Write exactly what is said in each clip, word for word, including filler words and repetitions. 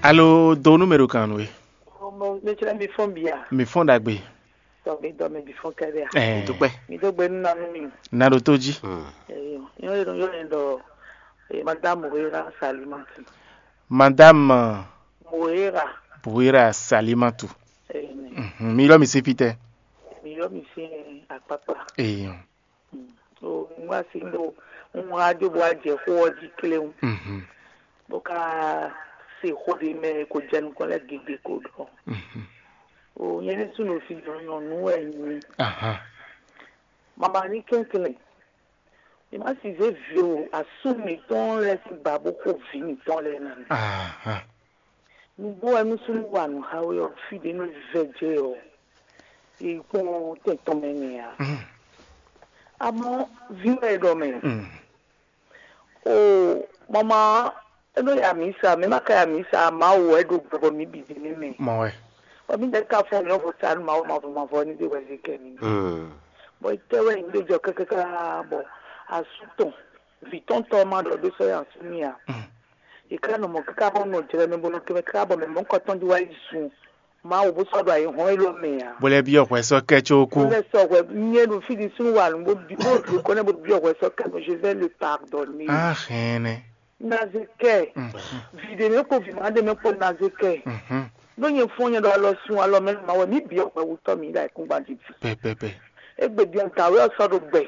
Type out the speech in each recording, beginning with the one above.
Alo, do nú mɛ ɖo kan nú we. Mɛ clɛ́ mi fɔ́n bia. Mi fɔ́n ɖagbe. Tɔgbe dɔ mɛ bi fɔ́n kɛɖɛ a. Ɛɛ. Dúpẹ́. Mi dó gbe nú nanú mi. Na ɖo tó jí. Eyo, yɔn yɔn yɔn yɔn dɔ, eh, madame Moira Salimatu. Madame Moira. Moira Salimatu. Eh, ne. Mhm, mi lɔ mi si pitɛ. Mi yɔ mi si akpakpa. Eyo. O ŋu asi ɖo ŋu wá dó bó wá jɛ xó ɔ́ jí kléwún. Mhm. Bó ká se xó ɖé mɛ ko jɛ nukɔn lɛ́ɛ gěgé ko ɖɔ. Mhm. O nyɛ ní súnnu fi nyɔ̌nyɔ́ nú wɛ nyí. Aha. Mama ní kɛnklɛn. Mi má si zé vǐ o, asú mǐtɔn lɛ́ɛ sín ba bó xo vǐ mǐtɔn lɛ́ɛ ná. Aha. Nǔgbó wɛ nú súnnu wa nǔ xá we ɔ́, fí ɖě nú vɛ jɛ ɔ́, è kpɔ́n tɛn tɔn mɛ nɛ ǎ. Mm. Amɔ̌, vǐ wɛ è ɖɔ mɛ. Mm. O mama, é nɔ ya mǐ sa, mɛ ma ka ya mǐ sa, Mawu wɛ ɖo gbɔ bɔ mǐ bǐ ɖe ní mɛ. Mɔ wɛ. Bɔ mǐ lɛ́ ka fɔ́n mǐ ɔ́ vo ta nú Mawu mavɔ mavɔ ní ɖe wɛ zé kɛ mǐ. Mm. Bɔ é tɛ wɛ nyǐ ɖo jɔ kákáká bɔ asú tɔn, vǐ tɔn tɔn ma ɖɔ ɖó sɔ́ ya asú mì ǎ. Mm. È ká nɔ mɔ káká bɔ nɔ jlɛ́ mɛ bó nɔ kɛ mɛ káká bɔ mɛ mɔ̌kɔ tɔn jí wá yi sun Mawu bó sɔ́ ɖo ayǐhɔ́n élɔ́ mɛ ǎ. Bó lɛ́ byɔ́ hwɛ sɔ́ kɛ có kú. Bó lɛ́ sɔ́ hwɛ nyɛ ɖo fí ɖi súnnu wa nǔ bó bi bó ɖo kɔ́ nɛ́ bó byɔ́ hwɛ sɔ́ kɛ mɛ, je vais le pardonner. Á hɛn ɛ nɛ́. Nazekɛ, vi ɖe mɛ kpo vi ma ɖe mɛ kpo Nazekɛ. Ɖó nyɛ fún nyɛ ɖo alɔ sun alɔ mɛ ma wɛ mǐ byɔ́ hwɛ wutɔ́ mǐ ɖo ayǐkúngban jí vi. Pɛpɛpɛ. Égbé din dǎwe ɔ́ sɔ́ ɖo gbɛ,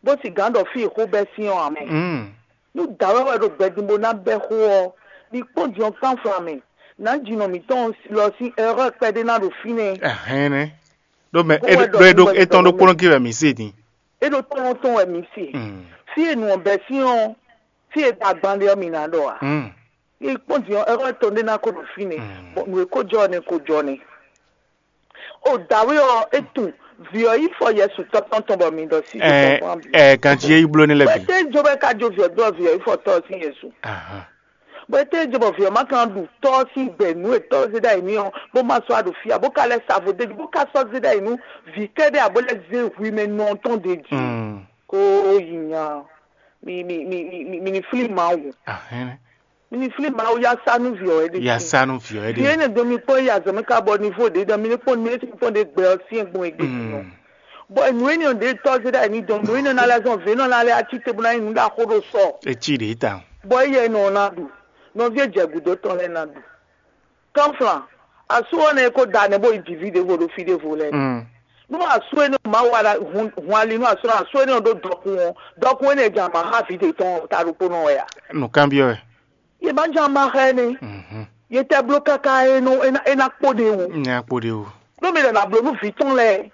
bó sì gǎn ɖɔ fí e xó bɛ́ sín ɔ́ ǎ mɛ. Nú dǎwe wɛ ɖo gbɛ din bó ná bɛ́ xó ɔ́, ní kpɔ́n din ɔ́ kpán flan mɛ, nǎ jinɔ mǐtɔn lɔ sín erreur kpɛɖé ná ɖo fínɛ́. Ɛhɛn nɛ́. Ɖó mɛ Kó é wɛ ɖɔ ɖó é ɖó nú wɛ é tɔn ɖɔ ɖokpónɔ gé wɛ mǐ se din. É ɖo tɔ́lɔ́n tɔn wɛ mǐ se. Mm. Fí e nǔ ɔ́ bɛ́ sín ɔ́, fí e ɖo agban ɖe ɔ́ mǐ ná ɖɔ ǎ. Mm. Ní kpɔ́n din ɔ́, erreur tɔn ɖé ná kó ɖo fínɛ́. Mm. Bɔ nǔ e kó jɔ ɔ́ nɛ́ kó jɔ nɛ́. O dǎwe ɔ́, é tunwun vǐ ɔ́ yí fɔ Yɛsu tɔ́ tɔn tɔn bɔ mi ɖɔ sí Ɛ ɛ ganjí é yi bló ní lɛ́ bɛ. Bɔ é tɛ́ jó bɔ é ka jó vǐ ɔ́ dó ɔ́, vǐ ɔ́ yí fɔ tɔ́ ɔ́ sín Yɛsu. Ahan. Bɔ é tɛ́ jó bɔ vǐ ɔ́ ma ka ɖu tɔ́ ɔ́ sín gbɛ nǔ e tɔ́ ɔ́ zé ɖ'ayǐ n'i ɔ́, bó ma sɔ́ wá ɖo fí ǎ, bó ka lɛ́ sa vo d'é jí, bó ka sɔ́ zé ɖ'ayǐ nú vǐ kɛ́ɖɛ́ ǎ, bó lɛ́ zé hwi mɛ nɔ tɔn d'é jí. Mm. Ko yi nya, mi mi mi mi mi mi ní flí Mawu. Ahɛn. Mi ní flí Mawu yá sá nú vǐ ɔ́ wɛ ɖe. Ya sá nú vǐ ɔ́ Vǐ ɖe. Énɛ́ dɔn mi kpɔ́n yi azɔ̌ mɛ ká bɔ ní vo ɖě dɔn mi ní kpɔ́n nǔ e sín kpɔ́n ɖe gbɛ ɔ́ sín gbɔn e gbé tɔn. Mm. Bɔ nǔ énɛ́ ɔ́ ɖě tɔ́ zé ɖ'ayǐ ní dɔn, nǔ énɛ́ ná lɛ́ zɔn vǐ énɛ́ ná lɛ́ ací te bó ná nyí nǔ ɖaxó ɖo sɔ. E cí ɖě tawun. Bɔ éyɛ́ nɔ ná ɖu, nɔví e jɛ gǔdo tɔn lɛ́ɛ ná ɖu. Kɔ́nflan, asú ɔ́ nɛ́ ko da nɛ́ bó yi jǐ ví ɖěvo ɖo fí ɖěvo lɛ́ɛ. Mm. Nú asú énɛ́ ɔ́ má wa ɖa hun hun ali nú asú ɔ́, asú énɛ́ ɔ́ ɖó dɔkun ɔ́, dɔkun énɛ́ jɛ ama xá vǐ ɖě tɔn ta ɖokpónɔ wɛ a? Nǔkanbyɔ́ wɛ. Yě má jɛ ama xá ɛ nɛ́. Mhm. Yě tɛ bló káká é nɔ é ná é ná kpó ɖe wú. Nya kpo ɖe o. Ɖó mi lɛ ná bló nú vǐ tɔn lɛ́ɛ,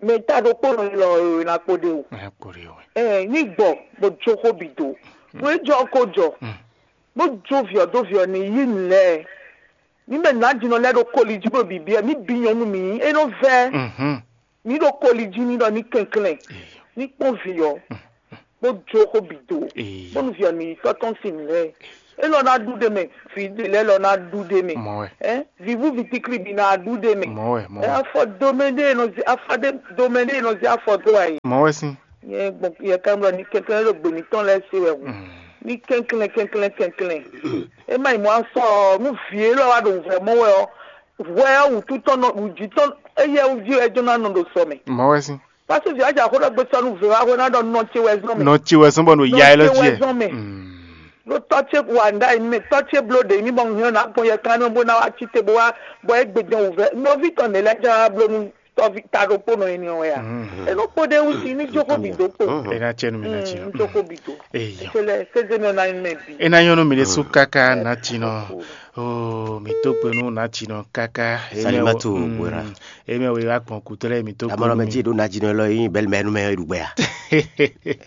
mɛ ta ɖokpónɔ élɔ́ é ná kpó ɖe wú. Nya kpo ɖe o. Ɛɛ ní gbɔ bó jó xó bǐ dó. Nú é jɔ ko jɔ. Mm. Bó jó vǐ ɔ́ dó vǐ ɔ́ ní yí nǔ lɛ́ɛ. Ní mɛ nǎjínɔ lɛ́ɛ ɖo koli jí bó bǐbí ɛ, mí bí nyɔ̌nu mǐ, é nɔ vɛ́. Mhm. Mǐ ɖo koli jí ní ɖɔ ní kɛnklɛ́n, ní kpɔ́n vǐ ɔ́, bó jó xó bǐ dó, Ee. bónú vǐ ɔ́ ní yi tɔ́ tɔn sín nǔ lɛ́ɛ. É lɔ ná ɖu ɖe mɛ, vǐ ɖě lɛ́ɛ lɔ ná ɖu ɖe mɛ. Mɔ wɛ. Ɛ vǐvú vǐtikli bǐ ná ɖu ɖe mɛ. Mɔ wɛ, mɔ Ɛ wɛ. Afɔ domɛ ɖé e nɔ zé afɔ ɖé domɛ ɖé e nɔ zé afɔ dó wá yi. Mɔ wɛ sín. Yɛ gbɔn yɛ kan ɖɔ ní kɛnklɛ́n ɖo gbě mǐtɔn lɛ́ɛ se wɛ hu. Mm. Ní kɛnklɛ́n kɛnklɛ́n kɛnklɛ́n. É má yi mɔ asɔ ɔ́, nú vǐ élɔ́ wá ɖo wǔvɛ́ mɔ wɛ ɔ́, hwɛ ɔ́ wǔtu tɔn nɔ wǔjí tɔn éyɛ́ wú jí wɛ é jɔ́n ná nɔ ɖo sɔ mɛ. Mɔ wɛ sín. Pásítọ̀ ví ajà xó ɖɔ gbé sɔ́ nú vǐ wá hwɛ ná ɖɔ nɔ ce wɛ zɔn mɛ. Nɔ ce wɛ zɔn bɔ nɔ ya ɛ lɔ Nɔ ce jí wɛ ɛ. zɔn mɛ. Mm. Ɖó tɔ́ ce wa nɖa yi mɛ, tɔ́ ce bló ɖe mí bɔ un hɛn ná gbɔn yɛ kan nɔ bó ná wá cí te bó wá bɔ é gbe dɔn wǔvɛ́. Nɔví tɔn nɛ lɛ́ɛ jɛ wá bló nú tɔ́ví ta ɖokpónɔ énɛ́ ɔ́ wɛ a? Mhm. É nɔ kpó ɖé wú sí ní jókòó bǐ dó kpo. Mhm. É ná cɛ nú mi ná ci Mm, nɔ. Jókòó bǐ dó. Eyɔ. Sele seze nɔ na mɛ bi. É ná nyɔ́ nú mi ɖésú káká ná ci nɔ. Oo, mi tó kpe nú ná ci nɔ káká. Salimatu Wera. Emi wɛ wá gbɔn kutɔ lɛ mi tó kpe Amɔlɔ nú mɛ mi. Jí ɖo ná jí nɔ lɔ yín bɛlɛ mɛ nú mɛ ɖu gbɛ a?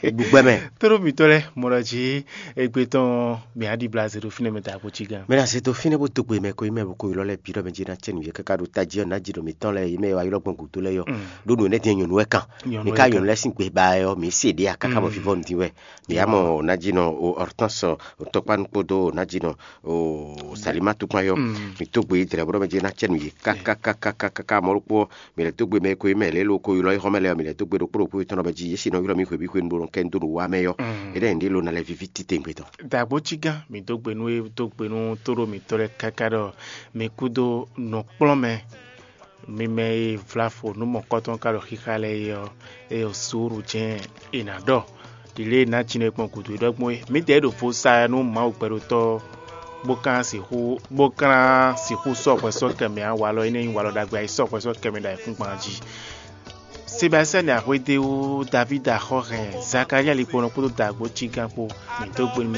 Ɖu gbɛ mɛ. Toro mi tɔ lɛ mɔlɔ jí egbe tɔn mi aɖi blaze ɖo fínɛ mɛ ta ko ci gan. Mɛ na se to fínɛ bó tó gbe mɛ ko yi mɛ bó ko yi lɔ lɛ bi ɖɔ mɛ jí ná cɛ nuyɛ káká ɖo tají ɔ́ ná jí ɖo mi tɔn lɛ yi mɛ wá yi lɔ gbɔn gúdo lɛ yɔ. Mm. Ɖó nǔ ɛnɛ dín nyɔ̌nu wɛ kan. Nyɔ̌nu Mi wɛ ká kan. Nyɔ̌nu lɛ sín gbe ba ɛ ɔ́ mi se ɖe a káká bɔ Mm. fífɔ nu dín wɛ. Mi yá mɔ ná jí nɔ o Hortense o tɔkpánu kpódó ná jí nɔ o Salima tukun ayɔ, mi tó gbe dlɛ bɔ mɛ jɛ ná cɛ nu yě kákákákáká mɔ ɖokpó. Mi lɛ tó gbe mɛ ko yi mɛ lɛ lo ko ylɔ yi xɔmɛ lɛ, mi lɛ tó gbe ɖokpó ɖokpó tɔn bɛ ji yě si nɔ ylɔ mi xwebí xwenu ɖo kɛ ndo wa mɛ yɔ. Eɖe yin ɖe lo na lɛ vivi titengbe tɔn. Dagbo cí gán, mi dó gbe nú é dó gbe nú tóɖó mǐtɔn lɛ́ɛ káká ɖɔ mi kúdó nǔkplɔ́nmɛ, mi mɛ e vlá fo nú mɔ̌kɔtɔn ka ɖo xixa lɛ́ɛ é ɔ́, é ɖo suúlu jɛ́n è nǎ ɖɔ. Ɖi lě e nǎ cinɔ e kpɔn gǔdo é ɖɔ gbɔn é. Mǐdɛɛ ɖo vo sa nú Mawu gbɛɖotɔ́, bó ka sixú bó ka sixú sɔ́ hwɛ sɔ́ kɛ mɛ ǎ. Walɔ énɛ́ nyí walɔ ɖagbe e sɔ́ hwɛ sɔ́ kɛ mɛ ɖo ayǐkúngban jí. Sebastiyani Axwédéwu, Davída Xɔ́hɛn, Zakalía Likponɔ kpódó Dagbo Cígán kpó, mǐ dó gbe nú